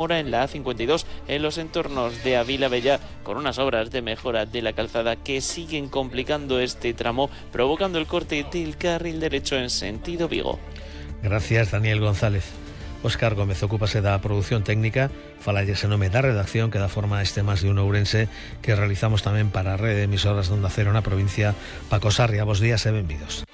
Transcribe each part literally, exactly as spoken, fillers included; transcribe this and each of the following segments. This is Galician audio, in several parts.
Ahora en la A cincuenta y dos, en los entornos de Avila Bella, con unas obras de mejora de la calzada que siguen complicando este tramo, provocando el corte del carril derecho en sentido Vigo. Gracias, Daniel González. Óscar Gómez ocúpase da produción técnica, falalles en nome da redacción que dá forma a este Más de Uno Ourense que realizamos tamén para a rede de emisoras de Onda Cero na provincia. Paco Sarria, bos días e benvidos.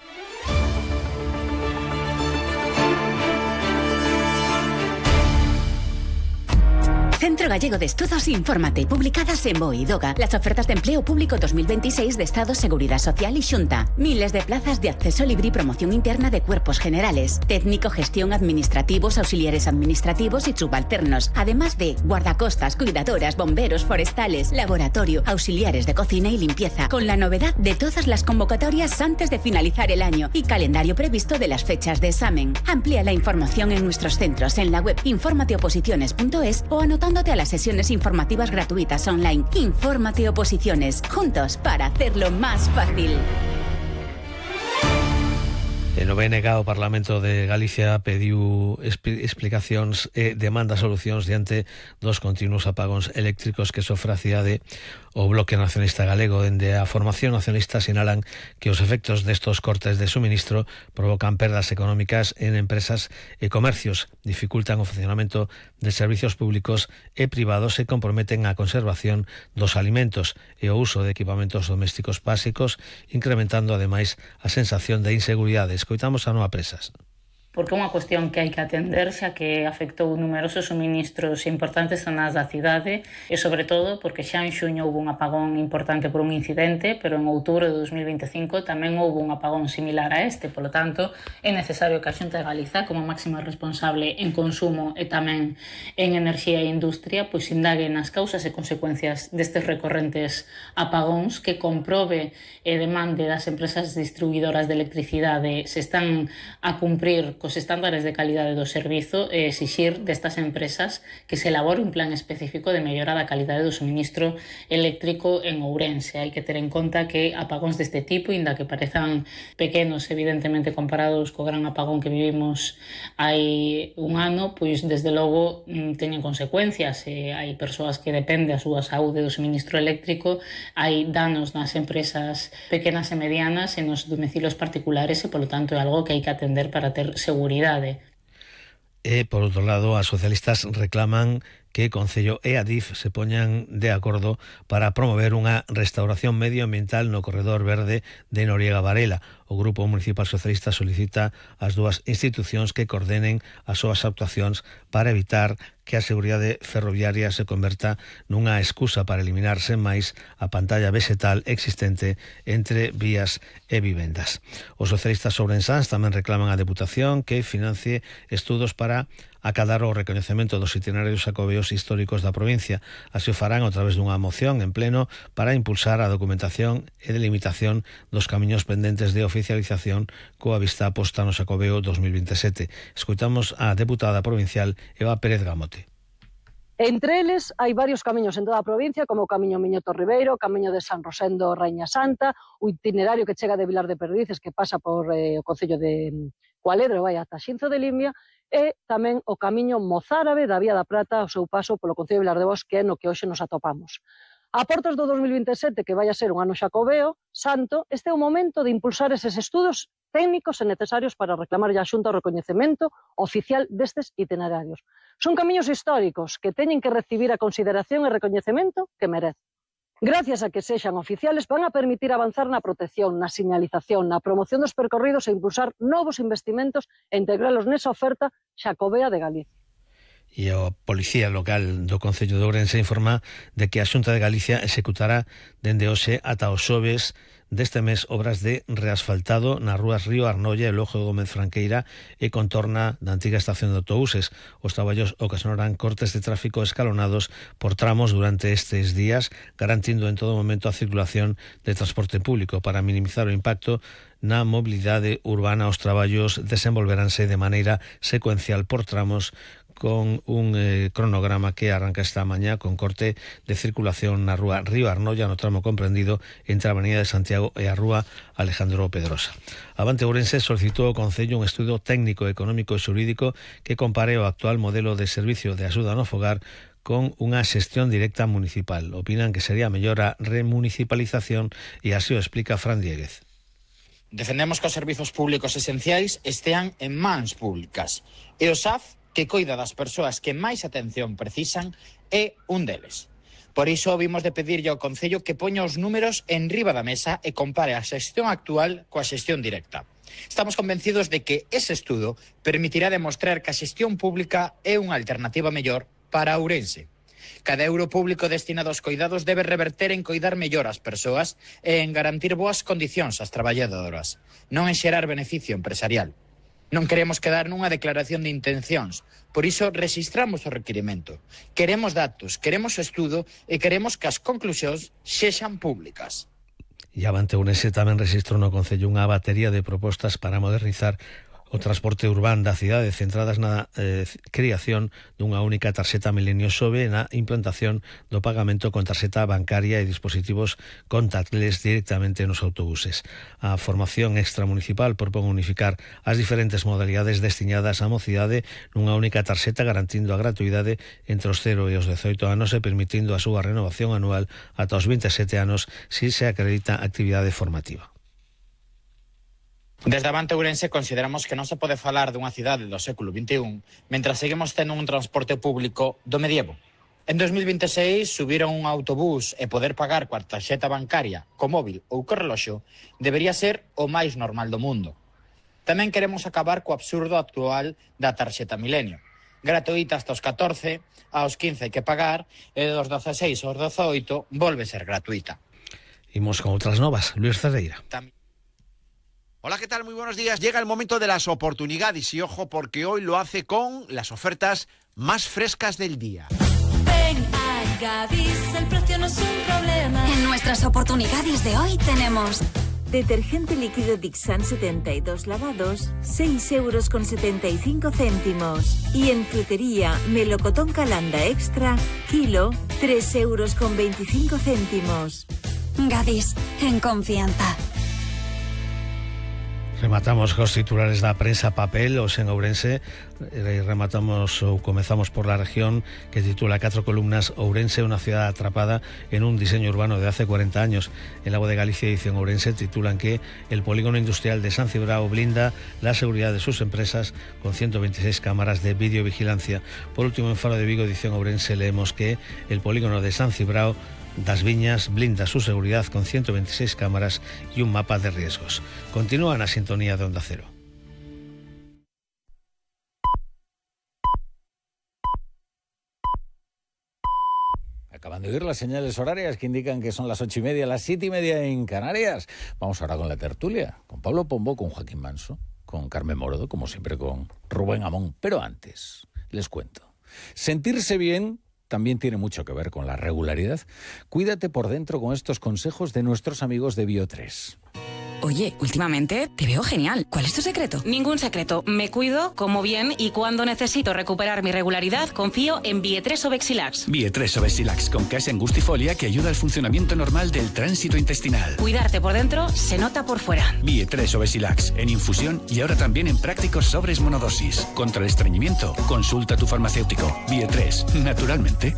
Centro Gallego de Estudos Infórmate, publicadas en BOE y DOGA, las ofertas de empleo público dos mil veintiséis de Estado, Seguridad Social y Xunta. Miles de plazas de acceso libre y promoción interna de cuerpos generales, técnico, gestión, administrativos, auxiliares administrativos y subalternos, además de guardacostas, cuidadoras, bomberos, forestales, laboratorio, auxiliares de cocina y limpieza, con la novedad de todas las convocatorias antes de finalizar el año y calendario previsto de las fechas de examen. Amplía la información en nuestros centros en la web informateoposiciones punto es o anotándote a las sesiones informativas gratuitas online. Infórmate Oposiciones, juntos para hacerlo más fácil. En o B N G o Parlamento de Galicia pediu explicacións e demanda solucións diante dos continuos apagóns eléctricos que sofre a cidade. O Bloque Nacionalista Galego, dende a Formación Nacionalista, sinalan que os efectos destos cortes de suministro provocan perdas económicas en empresas e comercios, dificultan o funcionamento de servicios públicos e privados e comprometen a conservación dos alimentos e o uso de equipamentos domésticos básicos, incrementando ademais a sensación de inseguridade. Escoitamos a Noa Presas. Porque é unha cuestión que hai que atender, xa que afectou numerosos suministros importantes zonas da cidade e, sobre todo, porque xa en xuño houve un apagón importante por un incidente, pero en outubro de dos mil veinticinco tamén houve un apagón similar a este. Polo tanto, é necesario que a Xunta de Galiza, como máxima responsable en consumo e tamén en enerxía e industria, pois indague nas causas e consecuencias destes recorrentes apagóns, que comprobe e demande das empresas distribuidoras de electricidade se están a cumprir os estándares de calidade do servizo e exixir destas empresas que se elabore un plan específico de mellora da calidade do suministro eléctrico en Ourense. Hai que ter en conta que apagóns deste tipo, inda que parezan pequenos evidentemente comparados co gran apagón que vivimos hai un ano, pois desde logo teñen consecuencias. E hai persoas que depende a súa saúde do suministro eléctrico, hai danos nas empresas pequenas e medianas e nos domicilios particulares e, polo tanto, é algo que hai que atender para ter seguridade. Seguridade. E, por outro lado, as socialistas reclaman que Concello e Adif se poñan de acordo para promover unha restauración medioambiental no corredor verde de Noriega Varela. O Grupo Municipal Socialista solicita ás dúas institucións que coordenen as súas actuacións para evitar que a seguridade ferroviaria se converta nunha excusa para eliminar sen máis a pantalla vexetal existente entre vías e vivendas. Os socialistas ourensáns tamén reclaman á Deputación que financie estudos para acadar o recoñecemento dos itinerarios xacobeos históricos da provincia. Así o farán a través dunha moción en pleno para impulsar a documentación e delimitación dos camiños pendentes de oficialización coa vista posta no Xacobeo dos mil veintisiete. Escoitamos a deputada provincial Eva Pérez Gamote. Entre eles hai varios camiños en toda a provincia, como o camiño Miñoto Ribeiro, o camiño de San Rosendo Raíña Santa, o itinerario que chega de Vilar de Perdices, que pasa por eh, o concello de Cualedro, vai ata Xinzo de Limia, e tamén o camiño mozárabe da Vía da Prata ao seu paso polo concello de Vilar de Bos, que é no que hoxe nos atopamos. A portas do dos mil veintisiete, que vai a ser un ano xacobeo santo, este é o momento de impulsar eses estudos técnicos e necesarios para reclamar a Xunta o recoñecemento oficial destes itinerarios. Son camiños históricos que teñen que recibir a consideración e recoñecemento que merecen. Gracias a que sexan oficiales, van a permitir avanzar na protección, na señalización, na promoción dos percorridos e impulsar novos investimentos e integralos nesa oferta xacobea de Galicia. E a Policía Local do Concello de Ourense informa de que a Xunta de Galicia executará dende hoxe ata os xoves deste mes obras de reasfaltado nas rúas Río Arnolla e Lojo Gómez Franqueira e contorna da antiga estación de autobuses. Os traballos ocasionarán cortes de tráfico escalonados por tramos durante estes días, garantindo en todo momento a circulación de transporte público. Para minimizar o impacto na mobilidade urbana, os traballos desenvolveránse de maneira secuencial por tramos, con un eh, cronograma que arranca esta mañá con corte de circulación na rúa Río Arnolla no tramo comprendido entre a Avenida de Santiago e a rúa Alejandro Pedrosa. Avante Ourense solicitou ao Concello un estudo técnico, económico e xurídico que compare o actual modelo de servicio de axuda no fogar con unha xestión directa municipal. Opinan que sería mellor a remunicipalización e así o explica Fran Dieguez. Defendemos que os servizos públicos esenciais estean en mans públicas e o S A F, que coida das persoas que máis atención precisan, é un deles. Por iso vimos de pedirlle ao Concello que poña os números en riba da mesa e compare a xestión actual coa xestión directa. Estamos convencidos de que ese estudo permitirá demostrar que a xestión pública é unha alternativa mellor para Ourense. Cada euro público destinado aos coidados debe reverter en coidar mellor as persoas e en garantir boas condicións ás traballadoras, non en xerar beneficio empresarial. Non queremos quedar nunha declaración de intencións, por iso rexistramos o requirimento. Queremos datos, queremos o estudo e queremos que as conclusións sexan públicas. E Avante Ourense tamén rexistrou no Concello unha batería de propostas para modernizar o transporte urbán da cidade centradas na eh, creación dunha única tarxeta Milenio Sobe na implantación do pagamento con tarxeta bancaria e dispositivos contactless directamente nos autobuses. A formación extramunicipal propón unificar as diferentes modalidades destinadas á mocidade nunha única tarxeta garantindo a gratuidade entre os cero e os dezoito anos e permitindo a súa renovación anual ata os vinte e sete anos si se acredita actividade formativa. Desde Avante Ourense consideramos que non se pode falar dunha cidade do século vinte e un mentras seguimos tendo un transporte público do medievo. En dos mil vinte e seis, subir a un autobús e poder pagar coa tarxeta bancaria, co móvil ou co reloxo debería ser o máis normal do mundo. Tamén queremos acabar co absurdo actual da tarxeta Milenio. Gratuita hasta os catorce, aos quince hai que pagar e dos dezaseis aos dezoito volve ser gratuita. Imos con outras novas. Luis Cerreira. Tamén Hola, ¿qué tal? Muy buenos días. Llega el momento de las oportunidades y ojo porque hoy lo hace con las ofertas más frescas del día. Ven a Gadis, el precio no es un problema. En nuestras oportunidades de hoy tenemos detergente líquido Dixan setenta y dos lavados, seis euros con setenta y cinco céntimos. Y en frutería, melocotón Calanda Extra, kilo, tres euros con veinticinco céntimos. Gadis, en confianza. Rematamos cos titulares da prensa papel os en Ourense. Rematamos ou comezamos por la región que titula Catro columnas: Ourense, una ciudad atrapada en un diseño urbano de hace cuarenta años. En La Voz de Galicia, edición Ourense, titulan que el polígono industrial de San Cibrao blinda la seguridad de sus empresas con ciento veintiséis cámaras de videovigilancia. Por último, en Faro de Vigo, edición Ourense, leemos que el polígono de San Cibrao das Viñas blinda su seguridad con ciento veintiséis cámaras y un mapa de riesgos. Continúa na sintonía de Onda Cero. Acaban de oír las señales horarias que indican que son las ocho y media, las siete y media en Canarias. Vamos ahora con la tertulia, con Pablo Pombo, con Joaquín Manso, con Carmen Morodo, como siempre con Rubén Amón. Pero antes, les cuento. Sentirse bien también tiene mucho que ver con la regularidad. Cuídate por dentro con estos consejos de nuestros amigos de Bio tres. Oye, últimamente te veo genial. ¿Cuál es tu secreto? Ningún secreto. Me cuido, como bien y cuando necesito recuperar mi regularidad, confío en Bio tres Obexilax. Bio tres Obexilax con case angustifolia que ayuda al funcionamiento normal del tránsito intestinal. Cuidarte por dentro se nota por fuera. Bio tres Obexilax en infusión y ahora también en prácticos sobres monodosis. Contra el estreñimiento, consulta a tu farmacéutico. Bio tres, naturalmente.